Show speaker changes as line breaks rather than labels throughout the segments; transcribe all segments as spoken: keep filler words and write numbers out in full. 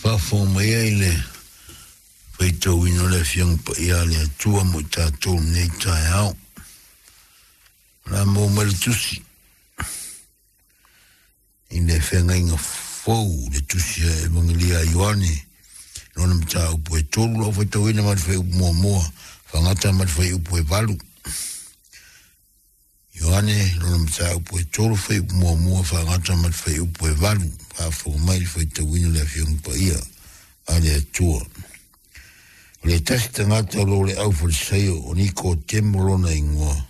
Faafofoga mai ai le faitauina o le Afioga Paia a le Atua mo i tatou lenei taeao. O le a maua mai le tusi i le feagaiga fou, le tusi a Evagelia a Ioane, lona mataupu e tolu lau faitauina mai le fuaiupu muamua, faagata mai le fuaiupu e valu. Ioane, lona mataupu e tolu, fuaiupu muamua, faagata mai le fuaiupu e valu. Faafofoga mai le faitauina le Afioga Paia a le Atua. O le tasi tagata o lo le aufalesaio o Nikotemo lona igoa.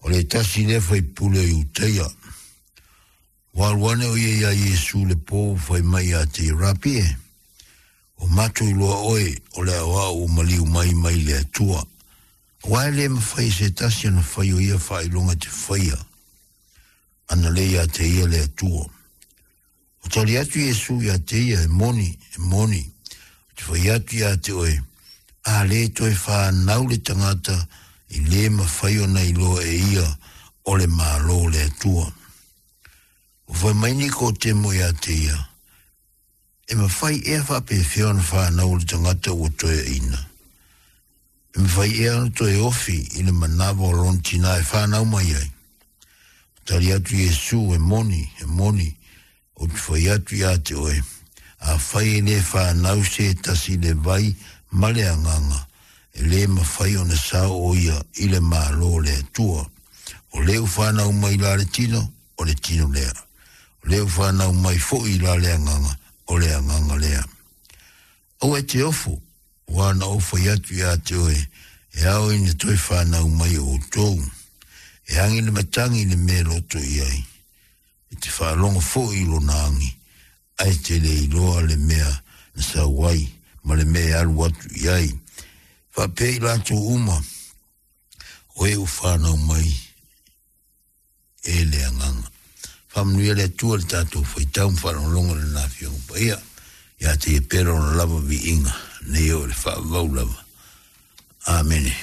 O le tasi lea faipule o Iutaia. Ua alu ane o ia iā Iesu le po fai mai ia te ia, Rapi e, ua matou iloa oe o le aoao ua maliu mai mai le Atua. Aua e le mafai e se tasi ona fai o ia faailoga e te faia, ana le ia te ia le Atua. Ua tali atu Iesu ia te ia, e moni, e moni, ou te fai atu ia te oe, a le toe fanau le tagata i le mafai ona iloa e ia o le Malo o le Atua. Ua fai mai Nikotemo ia te ia, e mafai ea faapefea ona fanau le tagata ua toeaina? E mafai ea ona toe ofi i le manava o lona tina e fanau mai ai? Ua tali atu Iesu, e moni, e moni, ou te fai atu ia te oe, afai e le fanau se tasi i le vai ma le agaga, e le mafai ona sao o ia i le Malo o le Atua. O le ua fanau mai la le tino, o le tino lea. O le ua fanau mai foi la le agaga, o le agaga lea. Aua e te ofo, ua na ou fai atu ia te oe, e ao ina toe fanau mai o outou. E agi le matagi i le mea loto i ai. E te faalogo foi i lona agi, ae te le iloa le mea na sau ai, ma le mea e alu atu i ai. Faapea i latou uma, o e ua fanau mai e le agaga. Faamanuia le Atua le tatou faitau ma faalogologo i lana Afioga Paia, ia te ia pea lona lava viiga, nei o le faavavau lava. Amene.